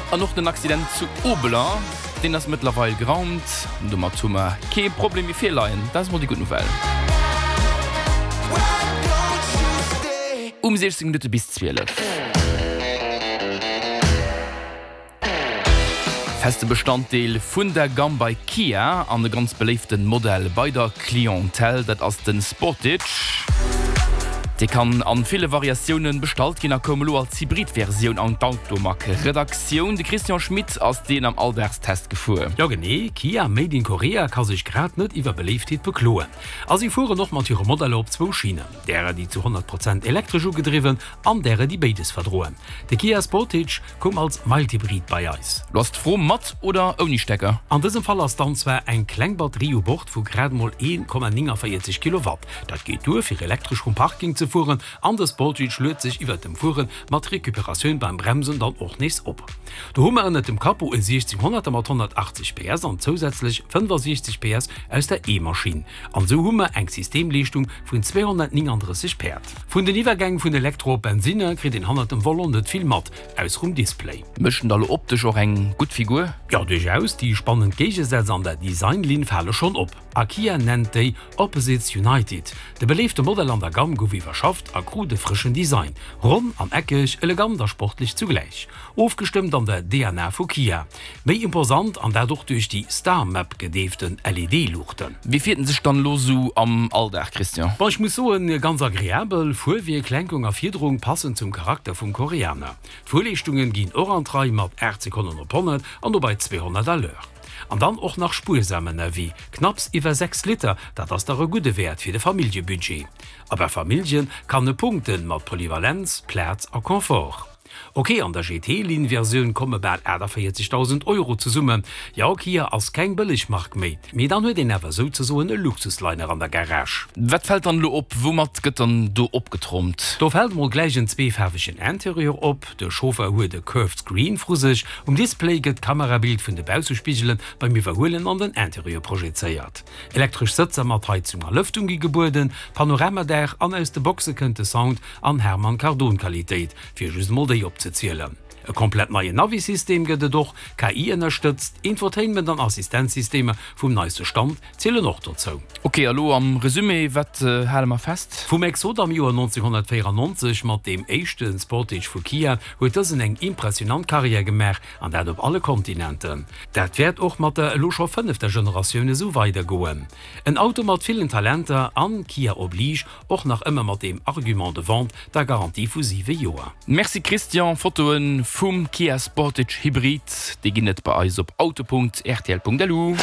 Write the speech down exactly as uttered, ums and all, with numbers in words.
An och den Accident zu Obeler, deen ass mëttlerweil geraumt. Domat hu mer kee Problem méi virleien. Dat ass mol déi gutt Nouvelle. Um siechzéng Minutte bis zwielef. Feste Bestanddeel vun der Gamm bei Kia an e ganz beléifte Modell bei der Clientèle, dat ass de Sportage. Dee kann an ville Variatiounen bestallt ginn a koum elo als Hybrid-Versioun an d'Automag-Redaktioun. De Christian Schmit ass deen am Alldagstest gefuer. Jo genee, Kia made in Korea ka sech grad net iwwer Beléiftheet bekloen. A si fueren och mat hire Modeller op zwou Schinnen, därer déi zu honnert Prozent elektresch ugedriwwen an därer déi béides verdroen. De Kia Sportage koum als Mild-Hybrid bei eis. Lo ass d'Fro, mat oder ouni Stecker? An dësem Fall ass dann zwar eng kleng Batterie u Bord vu grad mol een Komma nénganvéierzeg Kilowatt. Dat geet duer fir elektresch vum Parking ze fueren an de Sportage luet sech iwwert dem Fuere mat Recuperatioun beim Bremsen dann och nees op. Do hu mer ënnert dem Capot e siechzehnhonnerter mat honnertachtzeg P S an zousätzlech fënnfasiechzeg P S aus der E-Maschinn. An esou hu mer eng Systemleeschtung vun zweehonnertnénganddrësseg Päerd. Vun den Iwwergäng vun Elektro op Bensinner kritt een hannert dem Volant net vill mat, ausser um Display. Mécht en da lo optesch och eng gutt Figur? Jo, duerchaus. Déi spannend Géigesätz an der Designlinn fale schonn op. A Kia nennt déi Opposites United. De beléifte Modell an der Gamm gouf iwwerschafft a krut e frëschen Design. Ronn an eckeg, elegant a sportlech zugläich. Ofgestëmmt an der D N A vu Kia. Méi imposant, an dat och duerch déi Star Map gedeeften L E D-Luuchten. Wéi fiert en sech dann elo sou am Alldag, Christian? Bon, ech muss soen, ganz agreabel. Fuerwierk, Lenkung a Fiederung passen zum Charakter vum Koreaner. D'Fuerleeschtungen ginn och an d'Rei mat aacht Sekonnen op honnert an dobei zweehonnert à l'heure. An dann och nach spuersam ënnerwee, knapps iwwer sechs Liter, dat ass dach e gudde Wäert fir de Familljebudget. A bei Famillje kann e punkten mat Polyvalenz, Plaz a Confort. Ok, an der G T-Linn-Versioun komme bal aachtavéierzegdausend Euro zesummen. Jo, Kia ass keng bëlleg Mark méi, mee dann huet een awer souzesoen e Luxusliner an der Garage. Wat fält dann elo op? Woumat gëtt dann do opgetrompt? Do fält mol gläich en zweefaarwegen Interieur op, de Chauffer huet e Curved Screen vru sech, um Display gëtt d'Kamerabild vun de Baussespigele beim Iwwerhuelen an den Interieur projezéiert. Elektresch Sëtzer mat Heizung a Lëftung gi gebueden, Panoramadaach an aus de Boxe kënnt de Sound an Harman Kardon Qualitéit, fir just mol déi opzezielen. E komplett neien Navi-System gëtt et och, K I-ënnerstëtzt, Infotainment an Assistenzsystemer vum neiste Stand zielen och dozou. Ok, a lo am Resumé, wat hale mer fest? Vum Exot am Joer nonzénhunnertvéierannonzeg mat deem éischte Sportage vu Kia huet dësen eng impressionant Karriär gemaach, an dat op alle Kontinenten. Dat wäert och mat der elo scho fënnefter Generatioun esou weidergoen. En Auto mat villen Talenter an, Kia oblige, och nach ëmmer mat deem Argument de vente, der Garantie vu siwe Joer. Merci Christian, Fotoen vum Kia Sportage Hybrid, déi ginn et bei eis op auto punkt rtl punkt lu.